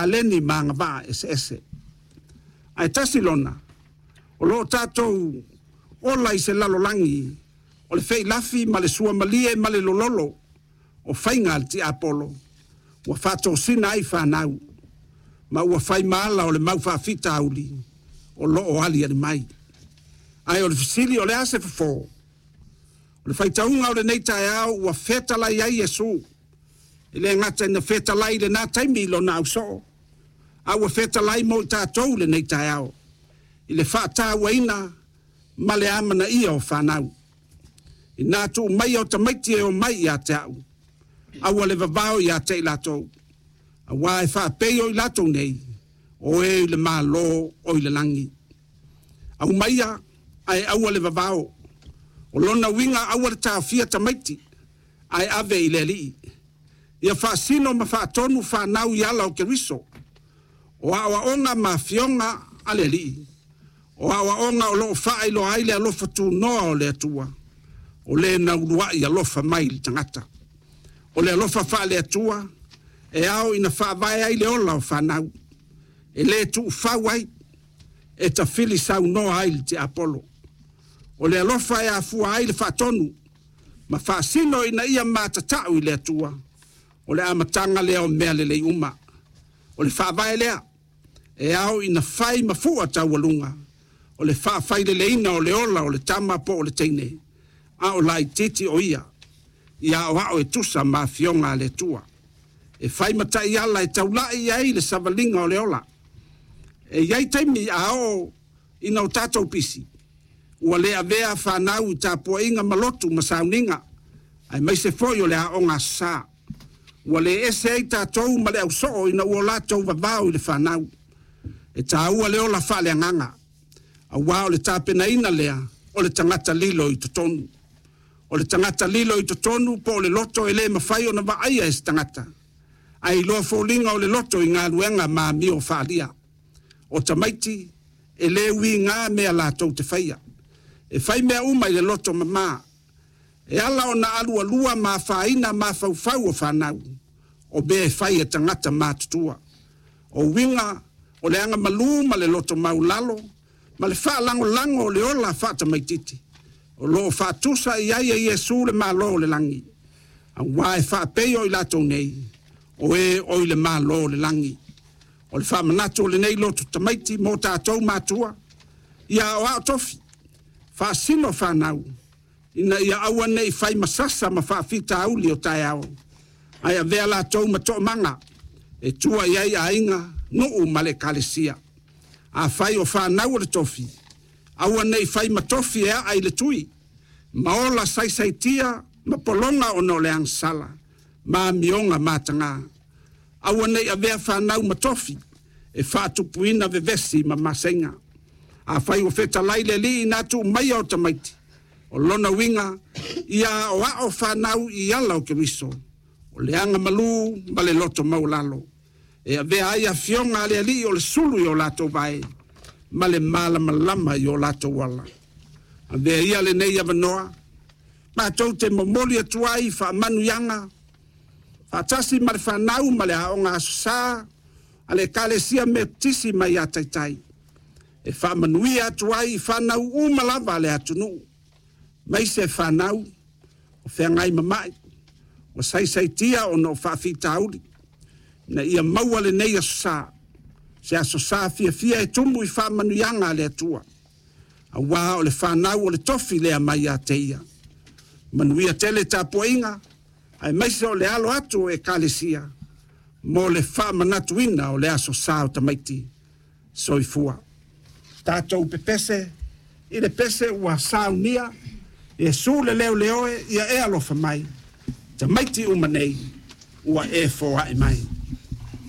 taleni ma agavaa eseese. Ae tasi lona, o lo o tatou ola i se lalolagi o le feilafi ma le suamalie ma le lololo o faiga a le tiapolo ua faatosina ai fanau ma ua fai ma ala o le mau faafitauli o lo o aliali mai. Ae o le fesili, o le a se fofo? O le faitauga o lenei taeao ua fetalai ai Iesu, e le gata ina fetalai i lena taimi i lona ausoo, a ua fetalai mo i tatou i lenei taeao i le faatauaina ma le amanaia o fanau. Ina tuu maia o tamaiti e omai ia te au, aua le vavao ia te i latou, aua e faapei o i latou nei, o e i le Malo o i le lagi. Aumaia ae aua le vavao. O lona uiga aua le taofia tamaiti, ae ave i le Alii. Ia faasino ma faatonu fanau i ala o Keriso. O aoaoga ma afioga a le Alii, o aoaoga o lo o faailoa ai le alofa tunoa o le Atua, o le na uluai alofa mai i le tagata. O le alofa faale-Atua e ao ina faavae ai le ola o fanau, e le tuufau ai, e tafili saunoa ai le tiapolo. O le alofa e afua ai le faatonu ma faasino ina ia matatau i le Atua, o le amataga lea o mea lelei uma. O le faavae lea e ao ina fai ma fua taualuga o le faafaileleina o le ola o le tama po o le teine, a o laitiiti o ia, ia aoao e tusa ma afioga a le Atua. E fai ma taiala e taulai i ai le savaliga o le ola. E i ai taimi a oo ina o tatou pisi, ua le avea fanau i tapuaiga ma lotu ma sauniga, aemaise foi o le aoga Aso Sa. Ua le ese ai tatou ma le ausoo ina ua latou vavao i le fanau. E taua le ola faaleagaga, aua o le tapenaina lea o le tagata lilo i totonu. O le tagata lilo i totonu po o le loto e le mafai ona vaaia e se tagata, ae iloa foliga o le loto i galuega ma amio faaalia. O tamaiti, e le uiga mea latou te faia. E fai mea uma i le loto mama. E ala ona alualua ma afaina mafaufau o fanau, o mea e fai e tagata matutua. O uiga o le agamalu ma le loto maualalo ma le faalagolago o le ola faatamaitiiti o lo o faatusa i ai e Iesu le Malo o le lagi, aua e faapei o i latou nei, o e oi le Malo o le lagi. O le faamanatu o lenei loto tamaiti mo tatou matua, ia aoao tofi, faasino fanau, ina ia aua ne i fai ma sasa ma faafitauli o taeao, ae avea latou ma toomaga e tua i ai aiga, nuu ma le Ekalesia. Afai o fanau o le tofi, aua ne i fai ma tofi e aa i le tui, ma ola saisaitia ma pologa ona o le agasala ma amioga mataga. Aua ne i avea fanau ma tofi e faatupuina vevesi ma maseiga. Afai ua fetalai le Alii ina tuu maia o tamaiti, o lona uiga ia aoao fanau i ala o Keriso, o le agamalu ma le loto maualalo, e avea ai afioga a le Alii o le sulu i o latou vae ma le malamalama i o latou ala. Avea ia lenei avanoa, matou te momoli atu ai faamanuiaga, faatasi ma le fanau ma le aoga Aso Sa a le Ekalesia Metotisi mai ia Taitai, e faamanuia atu ai i fanau uma lava a le atunuu, maise fanau o feagai ma mai, ua saisaitia ona o faafitauli, ina ia maua lenei Aso Sa, se Aso Sa fiafia e tumu i faamanuiaga a le Atua, aua o le fanau o le tofi lea mai ia te ia. Manuia tele tapuaiga, aemaise o le alo atu o Ekalesia mo le faamanatuina o le Aso Sa o tamaiti. Soifua. Tatou pepese i le pese ua saunia, Iesu le leoleoe, ia e alofa mai, tamaiti uma nei, ua e foai mai.